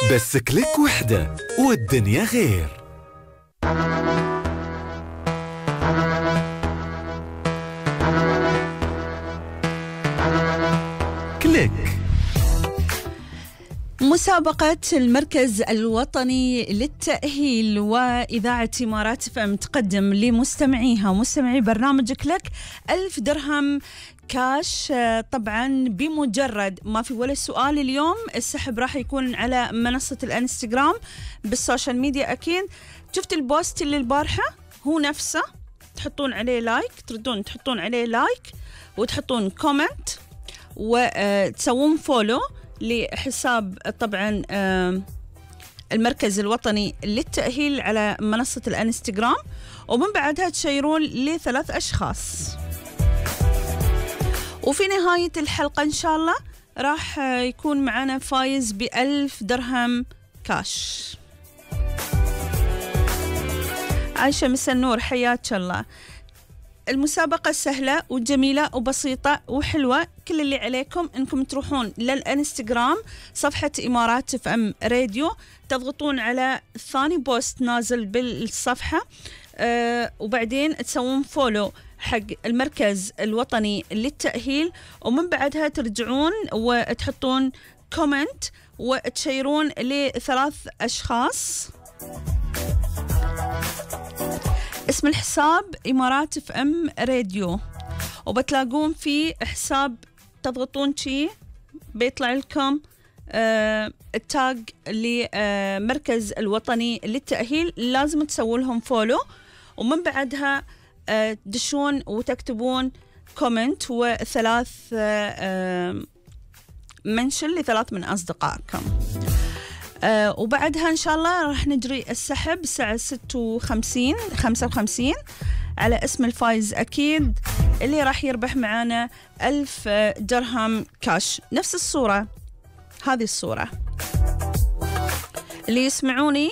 بس كليك وحدة والدنيا غير. كليك. مسابقة المركز الوطني للتأهيل وإذاعة إمارات FM تقدم لمستمعيها ومستمعي برنامج كليك 1000 درهم كاش. طبعا بمجرد ما في ولا سؤال اليوم السحب راح يكون على منصة الانستغرام بالسوشيال ميديا. أكيد شفت البوست اللي البارحة هو نفسه، تحطون عليه لايك، تردون تحطون عليه لايك وتحطون كومنت وتسوون فولو لحساب طبعا المركز الوطني للتأهيل على منصة الانستغرام، ومن بعدها تشيرون ل3 أشخاص. وفي نهاية الحلقة إن شاء الله راح يكون معنا فايز ب1000 درهم كاش. عايشة مسا النور، حياك الله. المسابقة سهلة وجميلة وبسيطة وحلوة. كل اللي عليكم انكم تروحون للانستغرام صفحة إمارات FM راديو، تضغطون على ثاني بوست نازل بالصفحة وبعدين تسوون فولو حق المركز الوطني للتأهيل، ومن بعدها ترجعون وتحطون كومنت وتشيرون ل3 أشخاص. اسم الحساب إمارات FM راديو، وبتلاقون في حساب تضغطون شي بيطلع لكم التاج لمركز الوطني للتأهيل، لازم تسووا لهم فولو، ومن بعدها تدشون وتكتبون كومنت و3 منشن ل3 من أصدقائكم. وبعدها إن شاء الله راح نجري السحب الساعة 55 على اسم الفايز أكيد اللي راح يربح معانا 1000 درهم كاش. نفس الصورة، هذه الصورة اللي يسمعوني